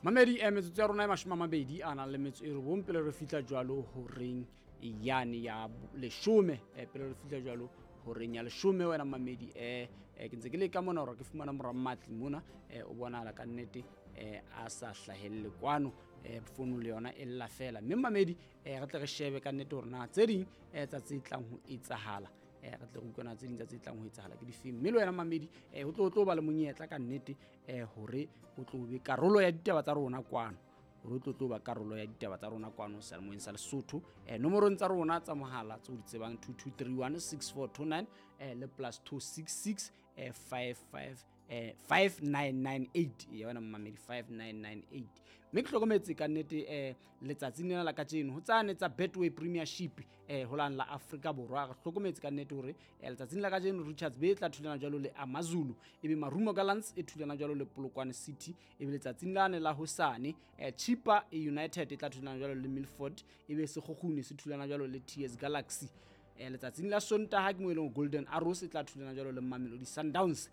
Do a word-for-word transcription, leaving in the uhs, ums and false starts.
Mamedi, eh, metsotso ya rona e mashome a mabedi a nang le metso e robong pele re fihla jwalo horeng yane ya leshome. eh, pele re fihla jwalo horeng ya leshome, wena mamedi, eh, eh, ke ntse ke leka mona hore ke fumana mora Matli mona. eh, o bonahala ka nnete eh, a sa hlahelle kwano. eh, founu le yona e lla fela. Mme mamedi, eh, re tle re shebe ka nnete hore na tse ding eh, tsa tse tlang ho etsahala, eh, re tle re utlwe na tse ding tsa tse tlang ho etsahala ke difeng. Mme le wena mamedi, eh, ho tlo tlo ba le monyetla ka nnete eh, hore o tlo be karolo ya ditaba tsa rona kwano, hore o tlo tlo ba karolo ya ditaba tsa rona kwano seyalemoyeng sa Lesotho. eh, nomorong tsa rona tsa mohala tse o di tsebang, two two three one six four two nine eh, le plus two six six eh, five five eh, five nine nine eight ya wena mamedi, five nine nine eight. Mme ke hlokometse ka nnete eh, letsatsing lena la kajeno ho tsane tsa Betway Premiership eh, ho lane la Afrika Borwa, re hlokometse ka nnete hore eh, letsatsing la kajeno Richards Bay e tla thulana jwalo le Amazulu, ebe Marumo Gallants e thulana jwalo le Polokwane City. Ebe letsatsing lane la hosane eh, Chippa United e tla thulana jwalo le Milford, ebe Sekhukhune se thulana jwalo le T S Galaxy. eh, letsatsing la Sontaha ke mo e leng Golden Arrows e tla thulana jwalo le Mamelodi Sundowns.